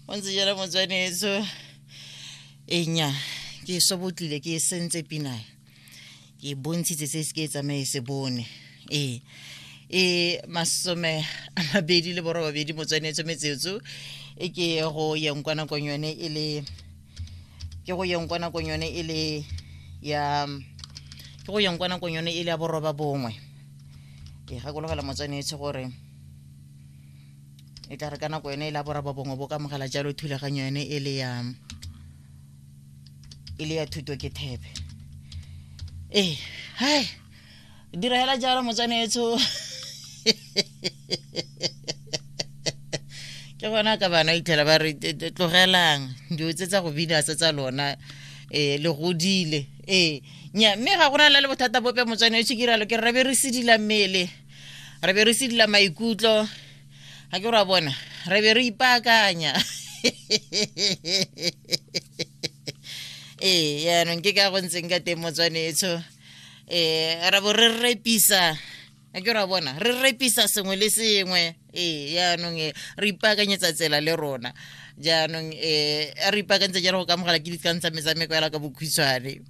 O ntse jalo motswanetso. Enya ke sobotlile ke e sentse pina ke bontshitse se se ke e tsamaye se bone. Ee, e 28 motswanetso metsotso e ke go yeng kwa nakong yone e le ke go yeng kwa nakong yone e le ya ke go yeng kwa nakong yone e le ya 9. Ke gakologela motswanetso gore e tla re ka nako yone e la 9 bo ka mogela jalo thulaganyo yone e le ya e le ya thuto ke thebe. Ee, hai dira hela jalo motswanetso. Ke gona ka bana itlhela ba re tlogelang dilo tse tsa go bina se tsa lona, um le godile. Ee, nya mme ga gona le bothata bope motswanetso, ke iralo ke re be re sedila mmele, re be re sedila maikutlo, ga ke ra bona re be re ipaakanya. Ee, yaanong ke ka go ntseng ka teng motswanetso. Ra bo re repisa, a ke ra bona re repisa sengwe le sengwe. Ee, yaanong e re ipaakanyetsa tsela le rona jaanong, re ipaakantse jalo go ka mogala ke dikgang tsa metshameko ela ka bokhutshwane.